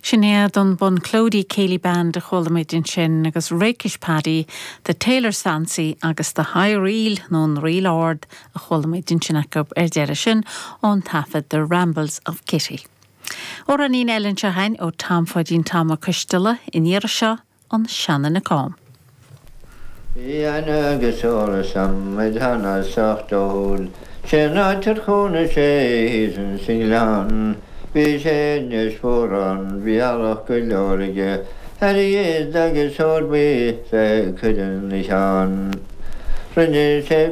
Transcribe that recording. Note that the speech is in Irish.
Sin iad an Bunclody Céilí Band a chuala muid ansin agus Rakish Paddy, The Tailor's Fancy agus The High Reel nó an Ríl Ard a chuala muid ansin acu ar deireadh sin ón taifead The Rambles of Kitty. Amhráinín eile anseo againn ó Tom Pháidín Tom Ó Coisteala, an iarraidh seo, An Seanduine Cam. Bhí aithne agus eolas a'm ar cheana sách dóighiúil. Cén áit ar chónaigh sé thíos ins an ngleann. Bhí sé i nDeis Mhóráin, bhí eallach go leor aige, airgead agus ór buí le cur ina cheann. Rinne sé.